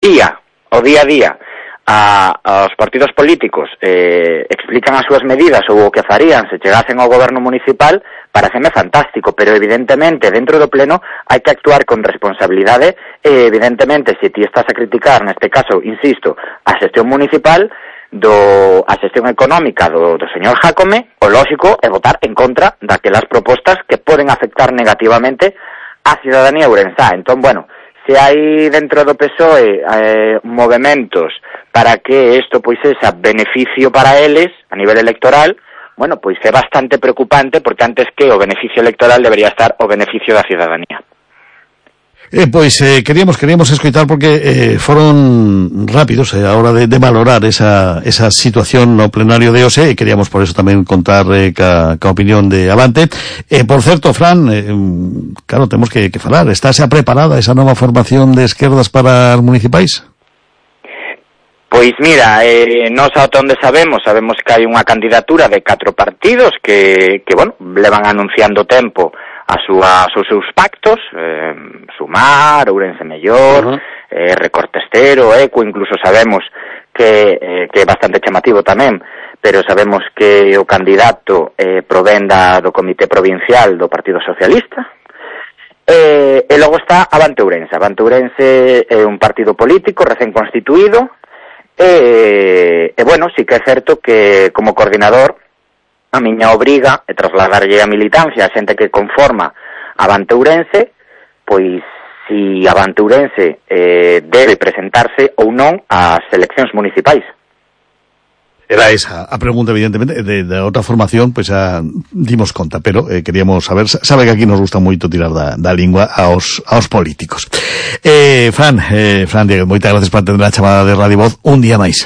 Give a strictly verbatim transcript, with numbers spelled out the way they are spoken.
día, o día a día, a, aos partidos políticos eh, explican as súas medidas ou o que farían se chegasen ao goberno municipal, pareceme fantástico, pero evidentemente dentro do pleno hai que actuar con responsabilidade e evidentemente se ti estás a criticar, neste caso, insisto, a xestión municipal, do a xestión económica do, do señor Jácome, o lóxico é votar en contra daquelas propostas que poden afectar negativamente a cidadanía ourensá. Entón, bueno, se hai dentro do P S O E eh, movementos para que isto pois sexa beneficio para eles a nivel electoral, bueno, pois é bastante preocupante porque antes que o beneficio electoral debería estar o beneficio da cidadanía. Eh, pois eh, queríamos queríamos escoitar porque eh, foron rápidos eh, a hora de, de valorar esa, esa situación no plenario de hoxe e queríamos por eso tamén contar eh, ca, ca opinión de Avante. Eh, por certo, Fran, eh, claro, temos que, que falar, está xa preparada esa nova formación de esquerdas para as municipais? Pois mira, eh, nós ata onde sabemos, sabemos que hai unha candidatura de catro partidos que, que bueno, levan anunciando tempo a súa, os seus pactos, eh, Sumar, Ourense Mellor, uh-huh. eh, Recortestero, Eco, incluso sabemos que, eh, que é bastante chamativo tamén, pero sabemos que o candidato eh, provén da, do Comité Provincial do Partido Socialista. Eh, e logo está Avante Ourense. Avante Ourense é un partido político recén constituído, e, e bueno, sí que é certo que como coordinador a miña obriga é trasladarlle a militancia a xente que conforma Avante Ourense, pois si Avante Ourense eh, debe presentarse ou non ás eleccións municipais. Era esa a pregunta, evidentemente, de, de outra formación, pois pues, xa dimos conta, pero eh, queríamos saber, sabe que aquí nos gusta moito tirar da, da lingua aos, aos políticos. Eh, Fran, eh, Fran Diego, moitas gracias por atender a chamada de Radio Voz un día máis.